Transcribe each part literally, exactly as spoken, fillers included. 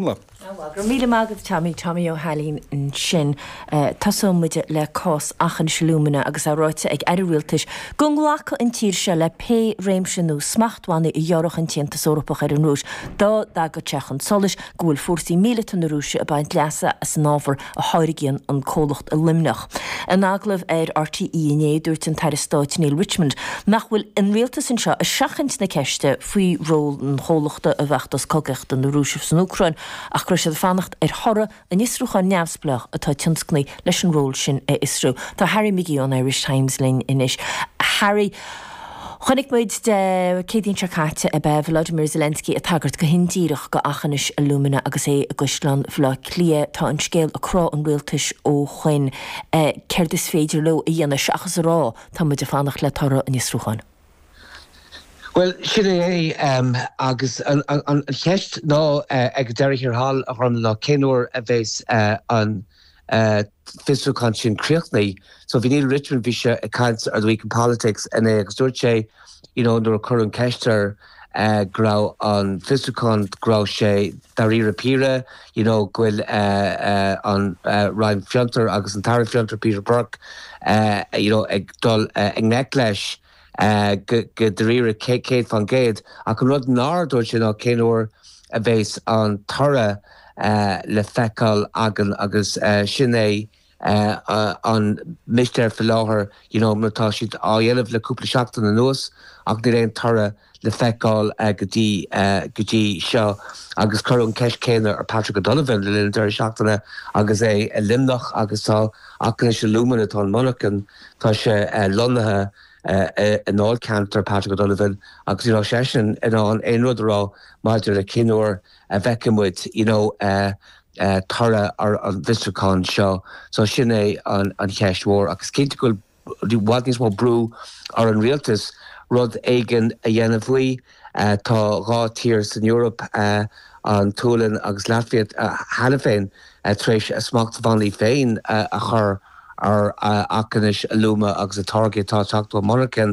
Go raibh míle maith agat Tommy Tommy Ó hAilín ansin Tosóidh muid le cás Aughinish Alumina agus é ráite ag Aire Rialtais go nglacfadh an tír seo le pé réimse nua smachtbhannaí a ghearrfadh an tAontas Eorpach ar an Rúis dá dtagadh sé chun solais go bhfuil fórsaí míleata na Rúise ag baint leasa as an ábhar a tháirgíonn an comhlacht i Luimneach. In agallamh ar RTÉ inné dúirt an tAire Stáit Neale Richmond nach bhfuil an rialtas anseo ag seachaint na ceiste faoi ról an chomhlachta i bhfeachtas cogaíochta na Rúise san Úcráin ach go raibh siad fanacht ar thoradh an fhiosrúcháin neamhspleách atá tionscnaithe leis an ról sin a fhiosrú. Tá Harry McGee ón Irish Times linn anois. Harry, Chonaic muid Dé Céadaoin seo caite ab ea Volodymyr Zelensky ag tagairt go hindíreach go Aughinish Alumina agus é i gCaisleán Bhaile Átha Cliath tá an scéal ag crá an rialtais ó shin céard is féidir leo a dhéanamh seachas a rá tá muid ag fanacht le toradh an fhiosrúcháin. Well sin é um, agus an, an, an cheist ná uh, ag deireadh thiar thall a chur ná cén uair a bheas uh, an uh, fiosrúchán sin críochnaithe. So bhí Neale Richmond bhí sé ag caint ar the week in politics inné agus dúirt sé you know, nuair a cuireadh an cheist air uh, go raibh an fiosrúchán go raibh sé dáiríre píre, you know, go bhfuil uh, uh, an uh, Roinn Fiontar agus an tAire Fiontar Peter Burke uh, you know, ag dul uh, ag ngleic leis. Uh, go dáiríre céad faoin gcéad ach an rud nár dúirt sé ná cén uair a bheas an toradh uh, le feiceáil againn agus uh, sin é uh, uh, an mistéir faoi láthair you know, mar tá siad á dhéanamh le cúpla seachtain anuas ach níl aon toradh le feiceáil uh, go dtí uh, go dtí seo agus cuireadh an cheist chéanna ar Patrick O'Donovan le linn deireadh seachtaine agus é i Luimneach agus tá Aughinish Alumina tá an monarcha tá sé uh, lonnaithe i ndáilcheantar Patrick O'Donovan agus you know, seisean in ann aon rud a rá maidir le cén uair a bhfeicfidh muid you know, uh, uh, toradh ar an bhfiosrúchán seo, so sin é an, an cheist mhór agus cinnte go bhfuil i bhfad níos mó brú ar an rialtas rud éigin a dhéanamh faoi uh, tá dhá tír san Eoraip uh, an tSualainn agus Laitvia uh, cheana féin uh, tar éis a smachtbhannaí féin uh, a chur ar uh, Aughinish Alumina agus a táirgí atá ag teacht ón monarcha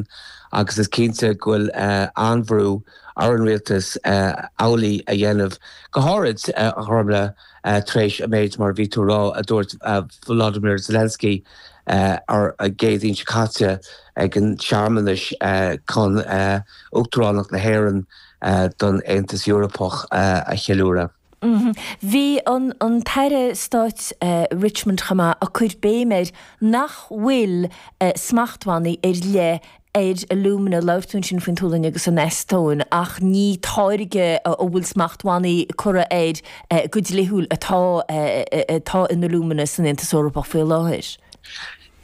agus is cinnte go bhfuil uh, an-bhrú ar an rialtas uh, amhlaidh a dhéanamh go háirid uh, a chormla uh, tar éis an méid mar bhí tú ag rá a dúirt uh, Volodymyr Zelensky uh, ar an gCéadaoin seo caite ag an searmanas uh, chun uh, Uachtaránacht na hÉireann uh, don Aontas Eorpach uh, a cheiliúradh. Mm -hmm. Bhí an, an tAire Stáit uh, Richmond chama a chur béim air nach bhfuil uh, smachtbhannaí ar leith ar alumina labhair tú ansin faoin tSualainn agus an Eastóin ach ní táirge a bhfuil smachtbhannaí curtha air uh, go dlíthiúil atá atá in alumina san Aontas Eorpach faoi láthair.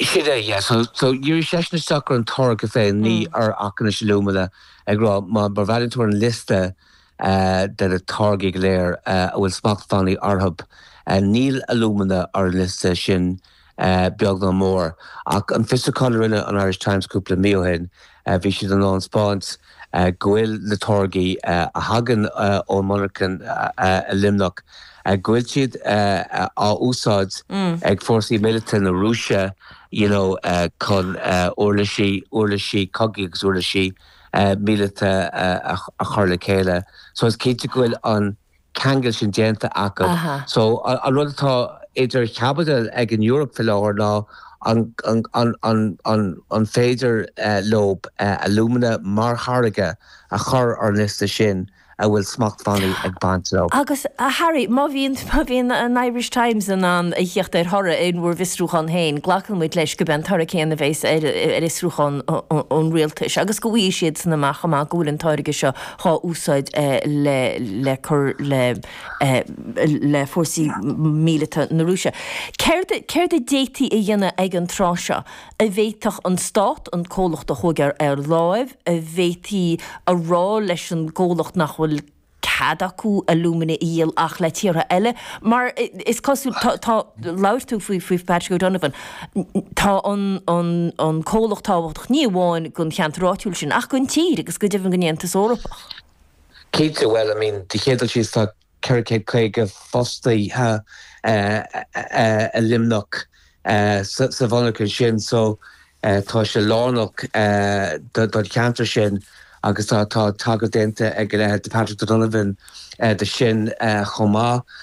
Sin é yeah, so so dhírigh seisean isteach ar an táirge féin ní ar Aughinish Alumina ag rá má bhreathnaíonn tú an liosta uh, de na táirgí go léir uh, a bhfuil smachtbhannaí orthu. Uh, níl alumina ar an liosta sin uh, beag ná mór ach an fiosrúchán a rinne an Irish Times cúpla mí ó shin uh, bhí siad in ann taispeáint uh, go bhfuil na táirgí uh, a thagann uh, ón monarcha uh, uh, i Luimneach. Uh, go bhfuil siad uh, á úsáid mm. ag fórsaí míleata na Rúise you know, uh, chun uh, uirlisí uirlisí cogaidh agus uirlisí uh, míleata uh, a chur le chéile. So is cinnte go bhfuil an ceangal sin déanta acu. So an rud atá idir chaibidil ag an Eoraip faoi láthair ná an, an, an, an, an, an féidir uh, leo uh, alumina mar tháirge a chur ar an liosta sin a bhfuil smachtbhannaí ag baint leo. Agus a Harry, má bhíonn má bhíonn an Irish Times in ann a theacht ar thoradh in bhur bhfiosrúchán féin, glacann muid leis gurb é an toradh céanna a bheas ar ar fhiosrúchán an rialtais, agus go bhfaighidh siad san amach amach go bhfuil an táirge seo á úsáid le le cur le le fórsaí míleata na Rúise. Céard céard a d'fhéadfaí a dhéanamh ag an tráth seo a bhféadfadh an stát an comhlacht a thógáil ar láimh a bhféadfaí a rá leis an gcomhlacht nach bhfuil cead acu alumina a dhíol ach le tíortha eile, mar is cosúil tá labhair tú faoi faoi Patrick O'Donovan tá an, an, an comhlacht tábhachtach ní amháin don cheantar áitiúil sin ach don tír agus go deimhin don Aontas Eorpach. Cinnte well I mean de chéad síos tá ceithre caoga fostaí i Luimneach sa mhonarcha sin so tá sé lárnach don cheantar sin agus tá tá tagairt déanta ag a leithéid de Patrick O'Donovan de sin chomh maith.